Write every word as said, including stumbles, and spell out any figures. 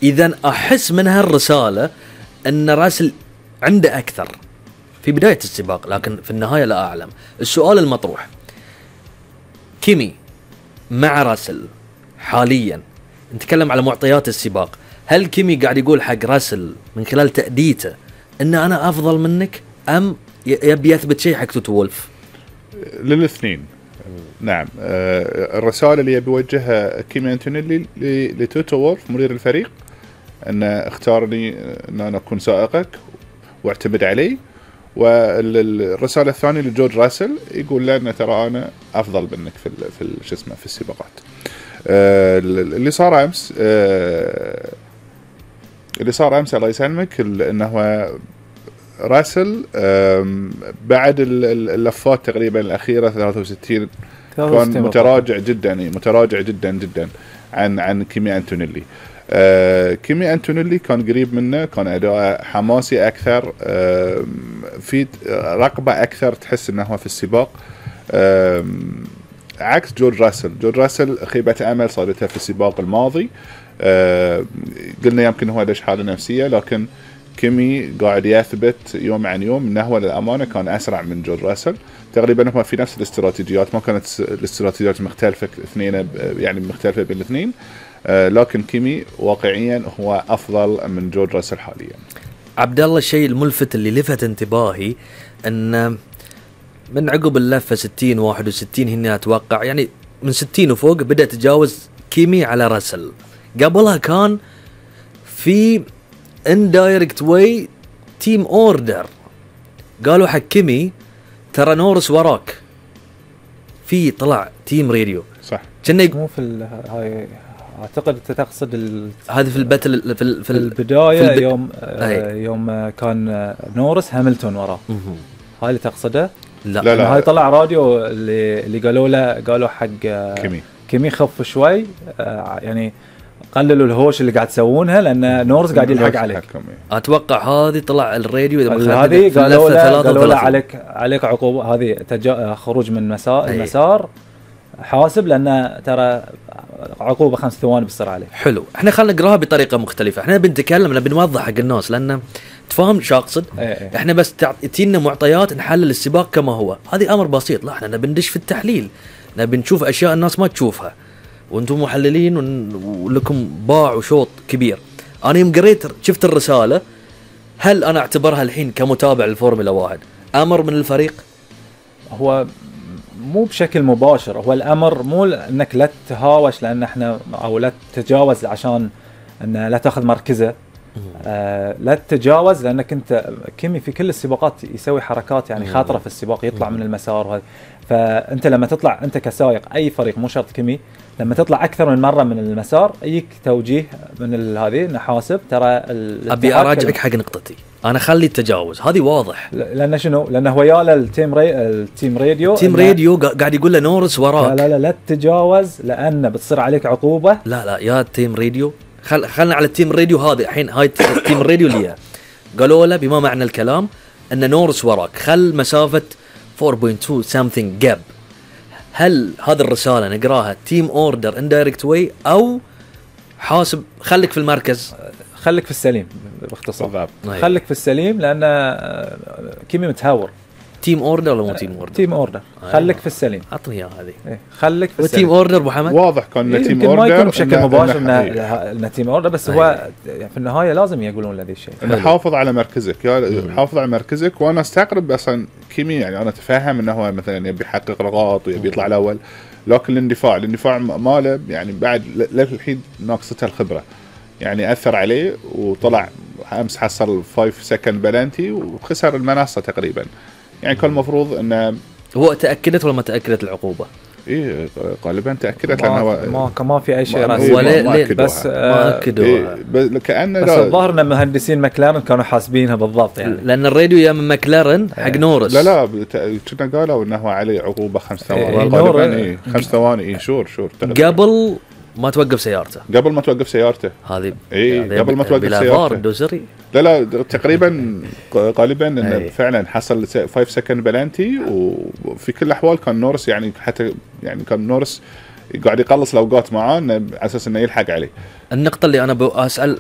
إذن أحس من هالرسالة أن راسل عنده أكثر في بداية السباق، لكن في النهاية لا أعلم. السؤال المطروح، كيمي مع راسل حاليا، نتكلم على معطيات السباق، هل كيمي قاعد يقول حق راسل من خلال تأديته أن أنا أفضل منك، أم يبي يثبت شيء حق توتو وولف؟ للاثنين. نعم. الرسالة اللي يبي يوجهها كيمي أنتونيلي لتوتو وولف مدير الفريق، أن اختارني أن أنا أكون سائقك واعتمد علي. والرسالة الثانية لجورج راسل يقول لنا ترى أنا أفضل منك في في شو اسمه في السباقات. اللي صار أمس اللي صار أمس الله يسلمك أنه راسل بعد اللفات تقريبا الأخيرة ثلاثة وستين كان متراجع جدا متراجع جدا جدا عن عن كيمي أنتونيلي. آه كيمي أنتونيلي كان قريب منه، كان أداء حماسي أكثر، آه في رقبة أكثر، تحس أنه في السباق، آه عكس جورج راسل. جورج راسل خيبة أمل صارتها في السباق الماضي، آه قلنا يمكن هو ليش حالة نفسية، لكن كيمي قاعد يثبت يوم عن يوم أنه هو للأمانة كان أسرع من جورج راسل. تقريبا هما في نفس الاستراتيجيات، ما كانت الاستراتيجيات مختلفة اثنين يعني مختلفة بين الاثنين، آه لكن كيمي واقعيا هو أفضل من جورج راسل حاليا. عبد الله، الشيء الملفت اللي لفت انتباهي أن من عقب اللفة ستين واحد وستين هنا أتوقع، يعني من ستين وفوق بدأ تجاوز كيمي على راسل. قبلها كان في indirect way team order، قالوا حق كيمي ترى نورس وراك، في طلع تيم راديو صح. كنا مو في هاي اعتقد تقصد ال... هذه في الباتل في, ال... في البدايه في الب... يوم آه يوم كان نورس هاملتون وراه، هاي اللي تقصده؟ لا لا, لا. هاي طلع راديو اللي اللي قالوا له قالوا حق كيمي كيمي خف شوي، آه يعني قللوا الهوش اللي قاعد تسوونها لان نورس قاعد يلحق عليك. اتوقع هذه طلع الراديو اذا ما هذه قالوا له قالوا له عليك عليك عقوبه، هذه تجا... خروج من مسار المسار حاسب، لان ترى عقوبه خمس ثواني بالسرعه عليه. حلو، احنا خلينا نقراها بطريقه مختلفه، احنا بنتكلم نبي نوضح حق الناس لان تفهم شو اقصد. ايه. احنا بس تجينا معطيات نحلل السباق كما هو، هذه امر بسيط. لا احنا نبي ندش في التحليل، نبي نشوف اشياء الناس ما تشوفها، وانتم محللين ولكم باع وشوط كبير. انا يوم قريت شفت الرساله، هل انا اعتبرها الحين كمتابع للفورمولا واحد امر من الفريق؟ هو مو بشكل مباشر، هو الامر مو انك لا تهاوش لان احنا او لا تتجاوز عشان ان لا تاخذ مركزه، آه لا تتجاوز، لانك انت كيمي في كل السباقات يسوي حركات يعني خاطره في السباق، يطلع من المسار وهذا. فانت لما تطلع انت كسائق اي فريق مو شرط كيمي، لما تطلع اكثر من مره من المسار يجيك توجيه من هذه نحاسب ترى. ابي اراجعك حق نقطتي، انا خلي التجاوز هذه واضح، لان شنو؟ لانه هو ياله التيم ري... التيم راديو التيم راديو قاعد يقول له نورس وراك، لا لا لا تتجاوز لان بتصير عليك عقوبه. لا لا يا التيم راديو، خل خلنا على التيم راديو هذا الحين، هاي التيم راديو اللي قالوا له بما معنى الكلام ان نورس وراك، خل مسافه أربعة فاصلة اثنين something gap. هل هذه الرسالة نقراها تيم اوردر اندايركت واي او حاسب خليك في المركز؟ خليك في السليم باختصار، خليك في السليم لان كيمي متهور. تيم اوردر ولا مو تيم اوردر؟ تيم اوردر. خليك في السليم، اعطني اياها هذه. إيه. خليك في السليم. تيم اوردر ابو حمد واضح كان إيه تيم اوردر ما يكون بشكل مباشر انه تيم اوردر، بس هو في النهايه لازم يقولون هذا الشيء، انه حافظ على مركزك، يا حافظ على مركزك. وانا استغرب اصلا كيمي، يعني انا اتفهم انه هو مثلا يبي يحقق نقاط ويبي يطلع الاول، لكن الاندفاع الاندفاع ماله يعني بعد للحين ناقصته الخبره، يعني اثر عليه وطلع امس حصل خمسة سكند بلانتي وخسر المنصه تقريبا. يعني كان المفروض انه هو تاكدت ولا ما تاكدت العقوبه؟ ايه غالبا تاكدت، لانه ما ما في اي شيء رسمي، بس ما اكدوا. إيه كأنه بس الظاهر ان مهندسين ماكلارن كانوا حاسبينها بالضبط، يعني لان الراديو يا من ماكلارن حق نورس. لا لا كنا قالوا انه عليه عقوبه خمس ثواني غالبا. ايه خمس ثواني ايه شور شور قبل ما توقف سيارته قبل ما توقف سيارته هذه ايه قبل ما توقف سيارته. لا لا تقريبا غالبا انه فعلا حصل خمسة سكند بلانتي، وفي كل الاحوال كان نورس يعني حتى يعني كان نورس قاعد يقلص الاوقات معاه على اساس انه يلحق عليه. النقطة اللي أنا بسأل